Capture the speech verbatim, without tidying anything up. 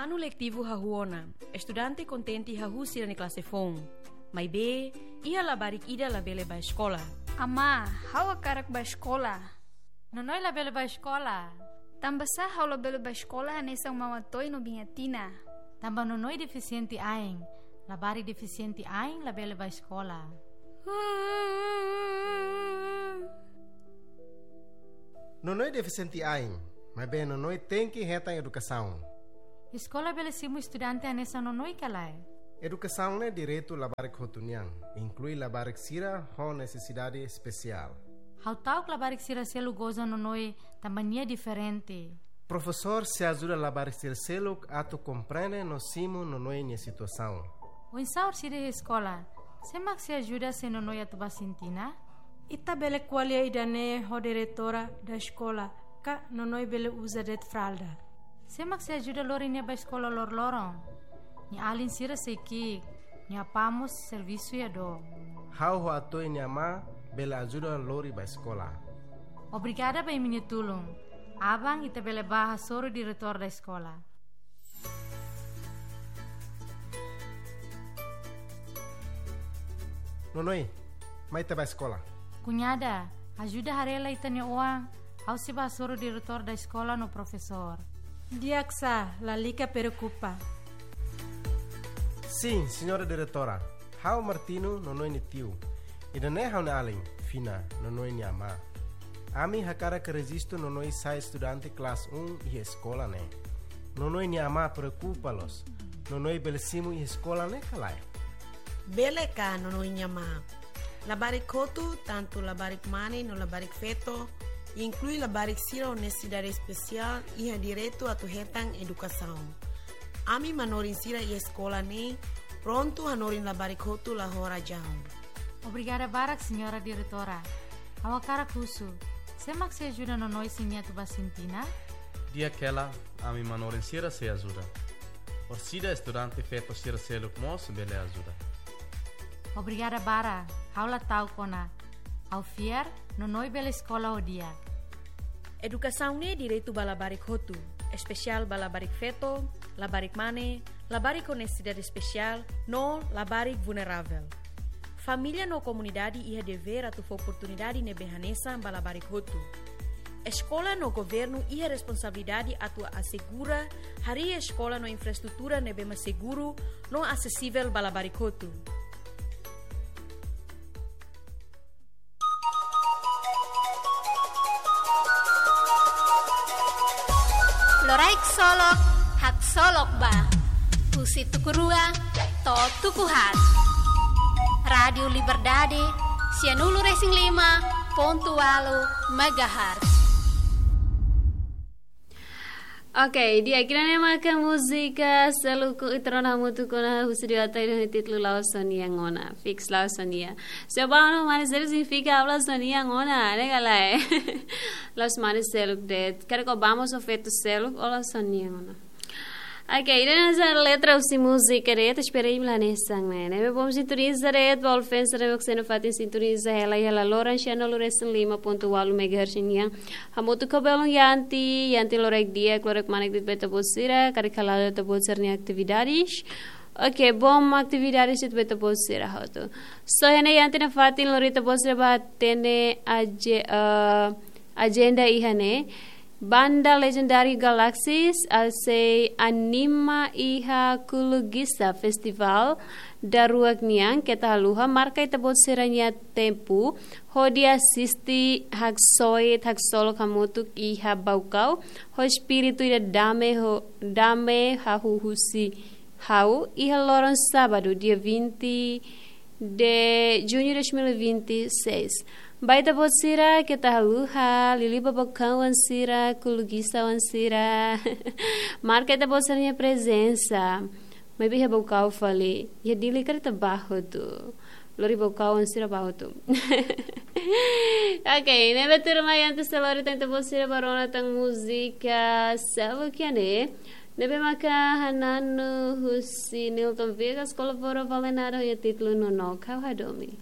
Anu letivu hahú ona, estudante kontente hahú sira-nia klase foun. Maibé, iha labarik ida labele bá eskola. Amá, ha'u hakarak bá eskola. Nonoi labele bá eskola. Tanbasá ha'u labele bá eskola hanesan Maun Atoy no Biin Atina? Tanba Nonoi defisiente ain. Labarik defisiente ain labele bá eskola. Nonoi defisiente ain, maibé Nonoi tenke hetan edukasaun. Eskola bele simu estudante hanesan Nonoi ka lae? Edukasaun ne'e direitu labarik hotu nian, inklui labarik sira ho nesesidade espesiál. Ha'u ta'uk labarik sira seluk goza Nonoi tanba nia diferente. Profesór sei ajuda labarik sira seluk atu komprende no simu Nonoi nia situasaun. Oinsá orsida iha eskola? Sé mak sei ajuda se Nonoi atu bá sintina? Ita bele ko'alia ida-ne'e ho diretora da eskola, ka Nonoi bele uza de'it fralda. Sé mak sei ajuda lori nia bá eskola loroloron? Nia alin sira sei ki'ik, nia apá mós servisu iha dook. Ha'u ho Atoy nia amá bele ajuda lori bá eskola. Obrigada ba imi-nia tulun. Aban ita bele bá hasoru diretór da eskola. Nonoi, mai ita bá eskola. Kuñada, ajuda haree lai ita-nia oan, ha'u sei bá hasoru diretór da eskola no profesór. Di'ak sá, lalika preokupa. Sin, señora diretora. Ha'u Martino, Nonoi nia tiu. Ida-ne'e ha'u-nia alin, Fina, Nonoi nia amá. Ami hakarak rejistu Nonoi sai estudante klase un iha eskola ne'e. Nonoi nia amá preokupa loos. Nonoi bele simu iha eskola ne'e ka lae? Bele ka, Nonoi nia amá. Labarik hotu, tantu labarik mane no labarik feto, inklui labarik sira ho nesesidade espesiál, iha direitu atu hetan edukasaun. Ami manorin sira iha eskola ne'e prontu hanorin labarik hotu la ho razaun. Obrigada barak, señora diretora. Ha'u hakarak husu, sé mak sei ajuda Nonoi se nia atu bá sintina? Di'ak hela, ami manorin sira sei ajuda. Orsida estudante feto sira seluk mós bele ajuda. Obrigada barak, ha'u la ta'uk ona. Ha'u fiar, Nonoi bele eskola ho di'ak. Edukasaun ne'e direitu ba labarik hotu, espesiál ba labarik feto, labarik mane, labarik ho nesesidade espesiál, no labarik vulneravel. Família no komunidade iha devér atu fó oportunidade ne'ebé hanesan ba labarik hotu. Eskola no governu iha responsabilidade atu asegura harii eskola no infraestrutura ne'ebé mak seguru no asesivel ba labarik hotu. Loraik solok, haksolok ba. Husi tuku rua to'o tuku haat. Rádiu Liberdade, sianulu resin lima pontu ualu megahertz. Oke, di'ak, ida-ne'e maka múzika seluk ita rona hamutuk ona husi Dio Atoy ho títulu La'ós Ó-nian Ona. Fiks, la'ós ó-nian. Se ó bá ona ho mane seluk signifika la'ós ó-nian ona, ne'e ka lae? La'ós mane seluk de'it. Karik ó bá mós ho feto seluk, ó la'ós ó-nian ona. Oke, ida-ne'e hanesan letra husi múzika de'it, espera imi la hanesan ne'e. Ne'ebé bom sintoniza de'it, ba Olfensa ne'ebé mak sei nafatin sintoniza hela iha laloran sianulu resin lima pontu ualu megahertz nian. Hamutuk ho belun Yanti, Yanti loraik di'ak, loraik manek de'it ba ita-boot sira, karik hala'o ita-boot sira-nia atividades. Oke, bom atividades de'it ba ita-boot sira hotu. So iha ne'e Yanti nafatin lori ita-boot sira ba hatene aje-, eh, ajenda iha ne'e. Banda Legendário Galaxies, ah, sei anima iha Kulugisa Festival daruak nian, keta haluha, marka ita-boot sira-nia tempu, hodi asiste haksoit, haksolok hamutuk iha Baucau, ho espíritu ida dame ho, dame hahú husi ha'u, iha loron sábadu, dia vinte de junho de dois mil e vinte e seis. Ba ita-boot sira, keta haluha, liuliu ba Baucau oan sira, Kulugisa oan sira. Marka ita-boot sira-nia prezensa. Maibé iha Baucau fali, iha Dili karik ita bá hotu. Lori Baucau oan sira bá hotu. Oke, ne'ebé tuirmai antes de lori tan ita-boot sira bá rona tan múzika seluk iha ne'e. Ne'ebé maka hananu husi Nilton Viegas, kolabora Valenada ho títulu Nonook Ha'u Hadomi.